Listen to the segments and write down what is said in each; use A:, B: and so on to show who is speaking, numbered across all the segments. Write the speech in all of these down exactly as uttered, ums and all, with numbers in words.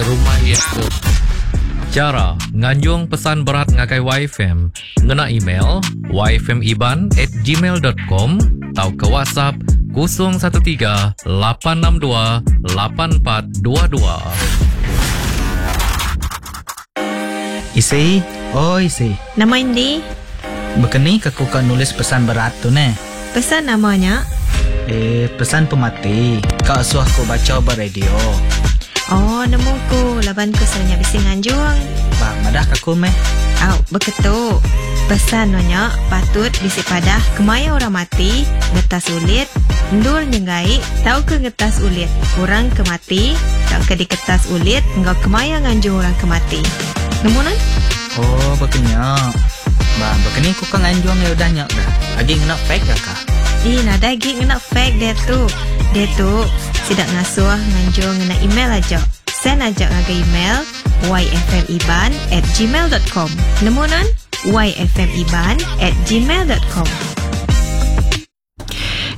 A: Rumah iya tu. Chara nganjung pesan berat ngagai Y F M ngena email yfmiban at gmail dot com tauka WhatsApp kosong satu tiga lapan enam dua lapan empat dua dua.
B: Isi, oi isi.
C: Nama indi?
B: Bekeni ke ku ka nulis pesan berat tu neh?
C: Pesan nama nya?
B: Eh, pesan pemati. Ka asuh ku baca ba radio.
C: Oh, nemu ku laban ku selalu nya bisi nganjung.
B: Ba, madah ka aku meh.
C: Au, beketu. Pesan nya patut bisi padah kemaya orang mati, ngetas ulit, endur nyenggai, tauka ngetas ulit. Orang ke mati, tauka diketas ulit, enggau kemaya nganjung orang ke mati. Nemu nan?
B: Oh, bekenya. Ba, bekeni ku ka nganjung ya udah nya dah. Agi ngena fax ya kah?
C: Ih, nadai agi ngena fax dia tu. Dia tu sidak ngasuh nganjung ngena email aja. Send aja ngagai email yfmiban at gmail dot com. Nemu nan? yfmiban at gmail dot com.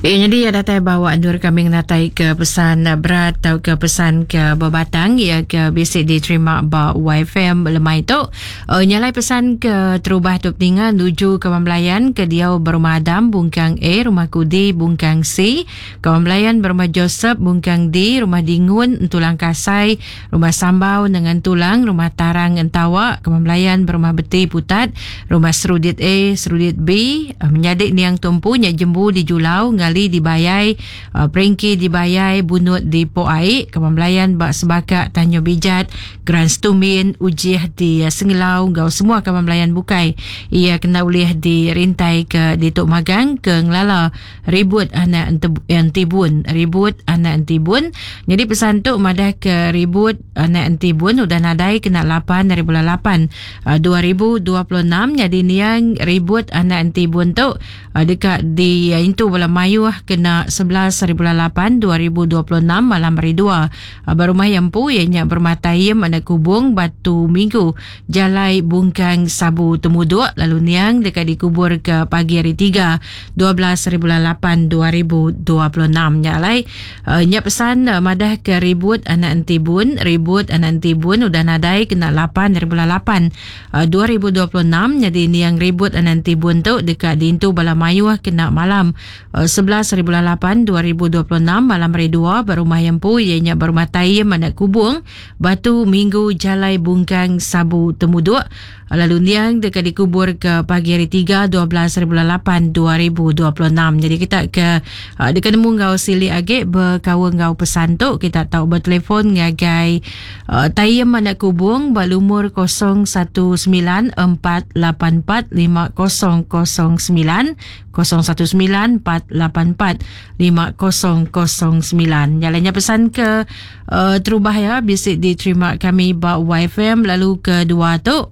D: Eh, jadi ya datai bawa andur kami ngatai ke pesan berat atau ke pesan ke berbatang ya ke bisi diterima ba Y F M lemai tu. Uh, nyalai pesan ke terubah tu peninga nuju ke Belayan ke dia berumah Adam Bungkang A, Rumah Kudi Bungkang C, Kawan Belayan berumah Joseph Bungkang D, Rumah Dingun Tulang Kasai, Rumah Sambau dengan Tulang, Rumah Tarang Entawa, Kawan Belayan berumah Beti Putat, Rumah Serudit A, Serudit B, uh, menyadik niang tumpu nya jembu di Julau, Ngali di Bayai, uh, Peringki di Bayai, Bunut di Pok Aik, Kawan Belayan bak Sebakak Tanyo Bijat, Grand Stumin, Ujih di uh, Sengelau, gau semua kawan belayan bukai. Ia kena ulih dirintai ke di Tok Magang ke ngelala Ribut anak Entibun, Ribut anak Entibun. Jadi pesan tu madah ke Ribut anak Entibun udah nadai kena lapan dari bulan lapan uh, dua ribu dua puluh enam. Jadi niang Ribut anak Entibun tu uh, dekat di uh, intu bola mayuh kena sebelas hari bulan lapan dua ribu dua puluh enam malam hari dua uh, berumah yang pu ianya berumah Taim anak Kubung Batu Minggu Jalai Bungkang Sabu Temuduk, lalu niang dekat dikubur ke pagi hari tiga dua belas hari bulan lapan dua ribu dua puluh enam. Nyalai uh, nya pesan uh, madah ke Ribut anak Entibun, Ribut anak Entibun udah nadai kena lapan hari bulan lapan uh, dua ribu dua puluh enam. Jadi niang Ribut anak Entibun tu dekat diintu bala mayuh kena malam uh, sebelas hari bulan lapan dua ribu dua puluh enam malam hari dua berumah yang pu ianya berumah Taim anak Kubung Batu Minggu Jalai Bungkang Sabu Temuduk, lalu niang dekat dikubur ke pagi hari tiga dua belas hari bulan lapan dua ribu dua puluh enam. Jadi kita ke uh, dekat nemu ngau sili age berkawan ngau pesan tu, kita tahu bertelefon ngagai uh, Taim anak Kubung balumur kosong satu sembilan empat lapan empat lima kosong kosong sembilan, kosong satu sembilan empat lapan empat lima kosong kosong sembilan. Jalannya pesan ke uh, terubah ya bisik diterima kami ba Y F M. Lalu kedua tu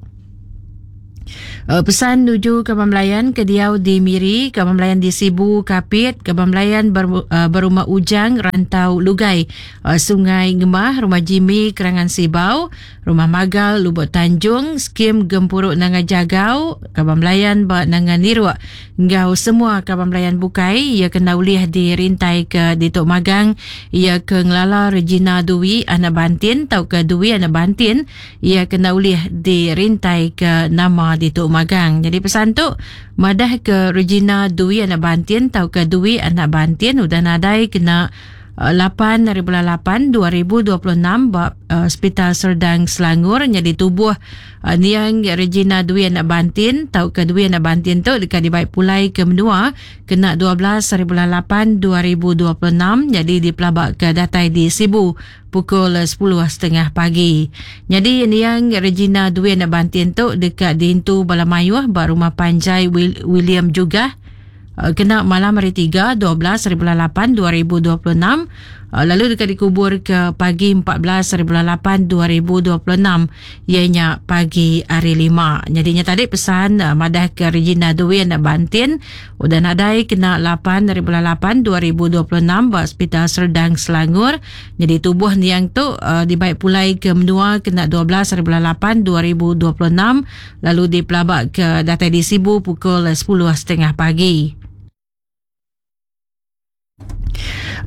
D: Uh, pesan nuju ke Belayan ke diau di Miri, ke Belayan di Sibu, Kapit, ke Belayan ber, uh, berumah Ujang, Rantau Lugai, uh, Sungai Ngemah, Rumah Jimmy, Kerangan Sibau, Rumah Magal, Lubuk Tanjung, Skim Gempuruk Nanga Jagau, ke Belayan ba Nanga Niruk, ngau semua ke Belayan bukai, ia kena ulih dirintai ke di Tok Magang, ia ke ngelala Regina Dwi anak Bantin, tau ke Dwi anak Bantin, ia kena ulih dirintai ke nama di Tok Magang. Jadi pesan tu madah ke Regina Dwi anak Bantin tau ke Dwi anak Bantin udah nadai kena uh, lapan dari bulan lapan dua ribu dua puluh enam ba uh, Hospital Serdang Selangor. Jadi tubuh uh, niang Regina Dwi anak Bantin tau ke Dwi anak Bantin tu dekat dibaik pulai ke menua kena dua belas hari bulan lapan dua ribu dua puluh enam. Jadi dipelabak ke datai di Sibu pukul sepuluh tiga puluh pagi. Jadi niang Regina Dwi anak Bantin tu dekat diintu bala mayuh ba rumah panjai William juga uh, kena malam hari tiga dua belas hari bulan lapan dua ribu dua puluh enam, uh, lalu dekat dikubur ke pagi empat belas hari bulan lapan dua ribu dua puluh enam ianya pagi hari lima. Jadinya tadi pesan uh, madah ke Regina Dwi anak Bantin udah nadai kena lapan hari bulan lapan dua ribu dua puluh enam ba Hospital Serdang Selangor. Jadi tubuh niang tu uh, dibaik pulai ke menua kena dua belas hari bulan lapan dua ribu dua puluh enam, lalu dipelabak ke datai di Sibu pukul sepuluh tiga puluh pagi.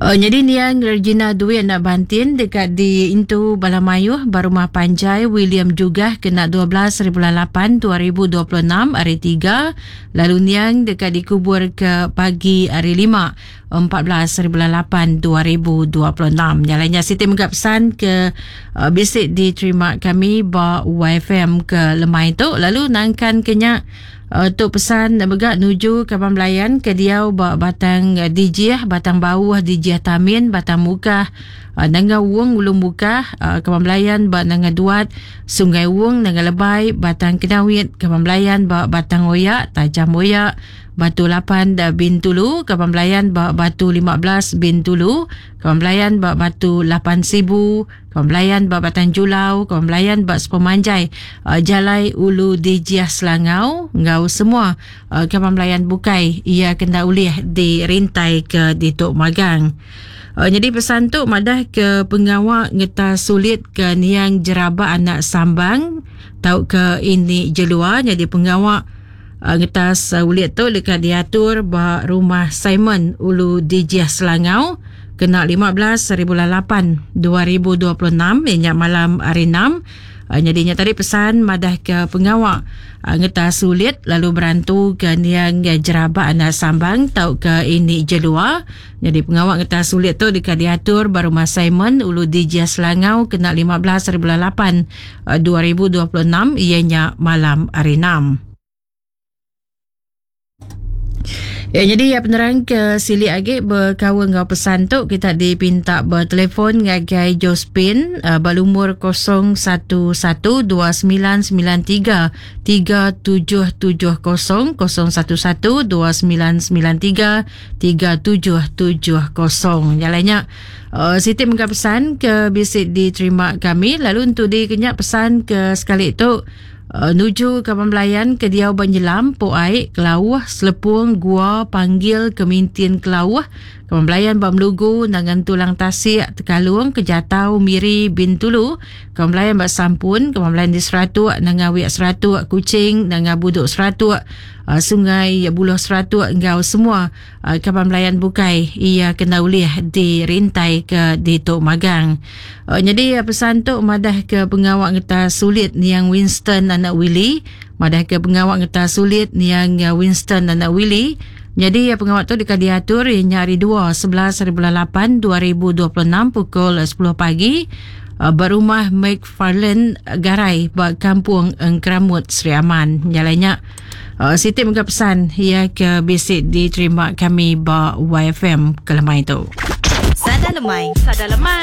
D: Uh, jadi niang Regina Duit nak bantin dekat di Intu Balamayuh Barumah Panjai William juga kena dua belas bulan lapan dua ribu dua puluh enam hari tiga, lalu niang dekat dikubur ke pagi hari lima empat belas bulan lapan dua ribu dua puluh enam. Nyalanya Siti menggap pesan ke uh, bisik diterima kami ba Y F M ke lemai tu, lalu nangkan kenyak Uh, tuk pesan begak nuju Kaban Belayan ke diau ba Batang Dijih, Batang Bauh, Dijih Tamin, Batang Mukah, uh, Nanga Wung, Ulu Mukah, uh, Kaban Belayan ba Nanga Duat, Sungai Wung, Nanga Lebai, Batang Kenawit, Kaban Belayan ba Batang Oyak, Tajam Oyak, Batu lapan Bintulu, Kaban Belayan ba Batu lima belas Bintulu, Kaban Belayan ba Batu lapan Sibu, Kaban Belayan ba Batang Julau, Kaban Belayan ba Sepemanjai, uh, Jalai Ulu Dijiah Selangau, ngau semua uh, Kaban Belayan bukai ia kena ulih dirintai ke Ditok Magang. Uh, jadi pesan tu madah ke pengawak ngeta sulit ke niang jeraba anak sambang tau ke ini jelua, jadi pengawak Uh, ngetas uh, ulit tu dekat diatur ba rumah Simon Ulu Dijiah Selangau kena lima belas bulan lapan dua ribu dua puluh enam ianya malam hari enam. Uh, jadinya tadi pesan madah ke pengawak uh, ngetas sulit lalu berantu ke niang jeraba anak sambang tau ke ini jelua. Jadi pengawak ngetas sulit tu dekat diatur ba rumah Simon Ulu Dijiah Selangau kena lima belas bulan lapan dua ribu dua puluh enam ianya malam hari enam. Ya, jadi ya penerang ke silik agi berkawan ngau pesan tu kita dipinta bertelefon ngagai Josephine uh, berlumur kosong satu satu dua sembilan sembilan tiga tiga tujuh tujuh kosong, kosong satu satu dua sembilan sembilan tiga tiga tujuh tujuh kosong. Yang lainnya uh, Siti mengka pesan ke bisik diterima kami, lalu untuk dikenyak pesan ke sekali tu Uh, nuju ke Pembelayan ke Diau Banyelam, Pok Aik, Kelauh, Selepung, Gua, Panggil, Kemintin, Kelauh, ke Pembelayan Bamlugu, Nangan Tulang Tasik, Tekalung, Kejatau, Miri, Bintulu, ke Pembelayan Bak Sampun, ke Pembelayan di Seratuk, Nangawiak Seratuk, Kucing, Nangabuduk Seratuk, uh, Sungai Buloh Seratuk, engkau semua uh, ke Pembelayan Bukai ia kena ulih dirintai ke di Tok Magang. Uh, jadi pesan tu madah ke pengawak ngeta sulit niang Winston anak Willy, madah ke pengawak ngeta sulit niang Winston anak Willy. Jadi pengawak tu dekat diatur ianya hari dua sebelas bulan lapan dua ribu dua puluh enam pukul sepuluh pagi berumah McFarlane Garai bak Kampung Engkramut Sri Aman. Nyalanya uh, Siti mengka pesan ia ke bisik diterima kami ba Y F M kelemai tu.
C: Sada lemai.
D: Sada lemai.